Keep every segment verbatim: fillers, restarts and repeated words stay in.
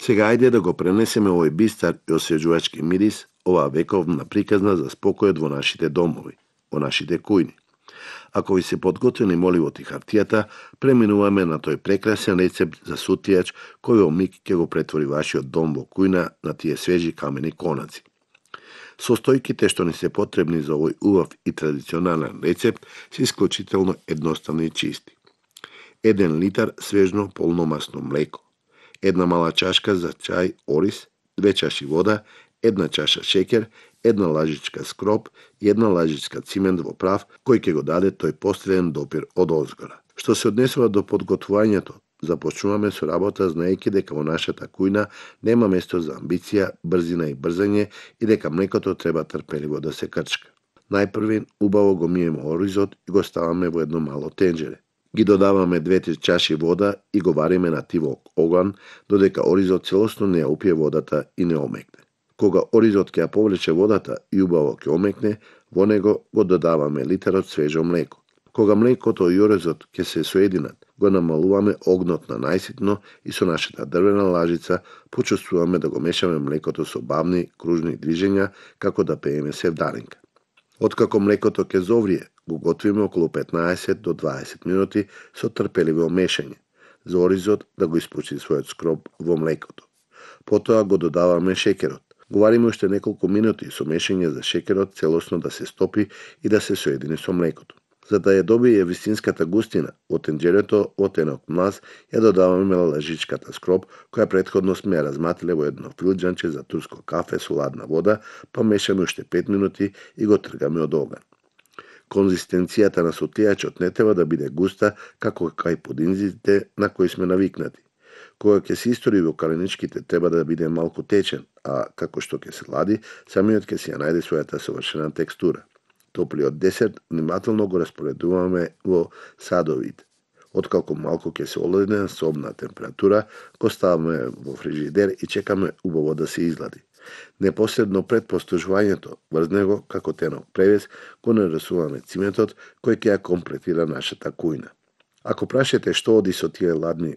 Сега ајде да го пренесеме овој бистар и освежувачки мирис, оваа вековна приказна за спокојот во нашите домови, во нашите кујни. Ако ви се подготвени моливот и хартијата, преминуваме на тој прекрасен рецепт за сутијач кој во миг ќе го претвори вашиот дом во кујна на тие свежи камени конаци. Состојките што ни се потребни за овој убав и традиционален рецепт се исклучително едноставни и чисти. Еден литар свежно полномасно млеко, една мала чашка за чај ориз, две чаши вода, една чаша шеќер, една лажичка скроп и една лажичка цимент во прав кој ќе го даде тој посреден допир од озгора. Што се однесува до подготвувањето, започнуваме со работа знаејќи дека во нашата кујна нема место за амбиција, брзина и брзање и дека млекото треба трпеливо да се крчка. Најпрви убаво го миеме оризот и го ставаме во едно мало тенџере. Ги додаваме две-три чаши вода и го вариме на тивок оган додека оризот целосно не ја упие водата и не омекне. Кога оризот ќе ја повлече водата и убаво ќе омекне, во него го додаваме литарот свежо млеко. Кога млекото и оризот ќе се соединат, го намалуваме огнот на најситно и со нашата дрвена лажица почувствуваме да го мешаме млекото со бавни, кружни движења како да пееме севдалинка. Откако млекото ќе зоврие, го готвиме околу петнаесет до дваесет минути со трпеливо мешање, за оризот да го испучи својот скроп во млекото. Потоа го додаваме шеќерот. Го вариме уште неколку минути со мешање за шеќерот целосно да се стопи и да се соедини со млекото. За да ја добие вистинската густина, во тенџерето во тенок млаз ја додаваме лажичката скроп, која претходно сме ја разматиле во едно филџанче за турско кафе со ладна вода, па мешаме уште пет минути и го тргаме од оган. Конзистенцијата на сутијачот не треба да биде густа како кај пудинзите на кои сме навикнати. Кога ќе се истори во каленичките треба да биде малку течен, а како што ќе се лади, самиот ќе си ја најде својата совршена текстура. Топлиот десерт внимателно го распоредуваме во садовите. Откако малку ќе се олади на собна температура, го ставаме во фрижидер и чекаме убаво да се излади. Непосредно пред постужувањето, врз него, како тенок превес, го нарисуваме циментот кој ќе ја комплетира нашата кујна. Ако прашате што оди со тие ладни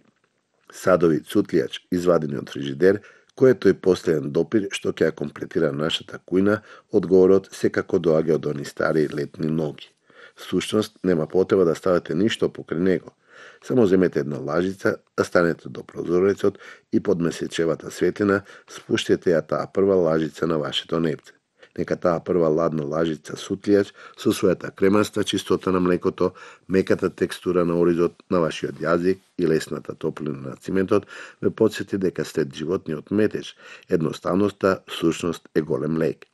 садови цутлијач извадени од фрижидер, кој е тој последен допир што ќе ја комплетира нашата кујна, одговорот секако доаѓа од они стари летни ноги. Всушност, нема потреба да ставате ништо покрај него. Само земете една лажица, да станете до прозорецот и под месечевата светлина спуштете ја таа прва лажица на вашето непце. Нека таа прва ладна лажица сутлијач со својата кремаста чистота на млекото, меката текстура на оризот на вашиот јазик и лесната топлина на циментот ве потсети дека след животниот метеж, едноставноста всушност е голем лек.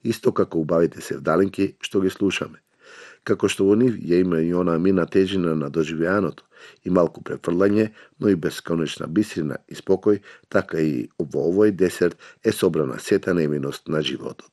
Исто како убавите севдалинки што ги слушаме. Како што во нив ја има и она мина тежина на доживеаното и малку префрлање, но и бесконечна бистрина и спокој, така и во овој десерт е собрана сета невиност на животот.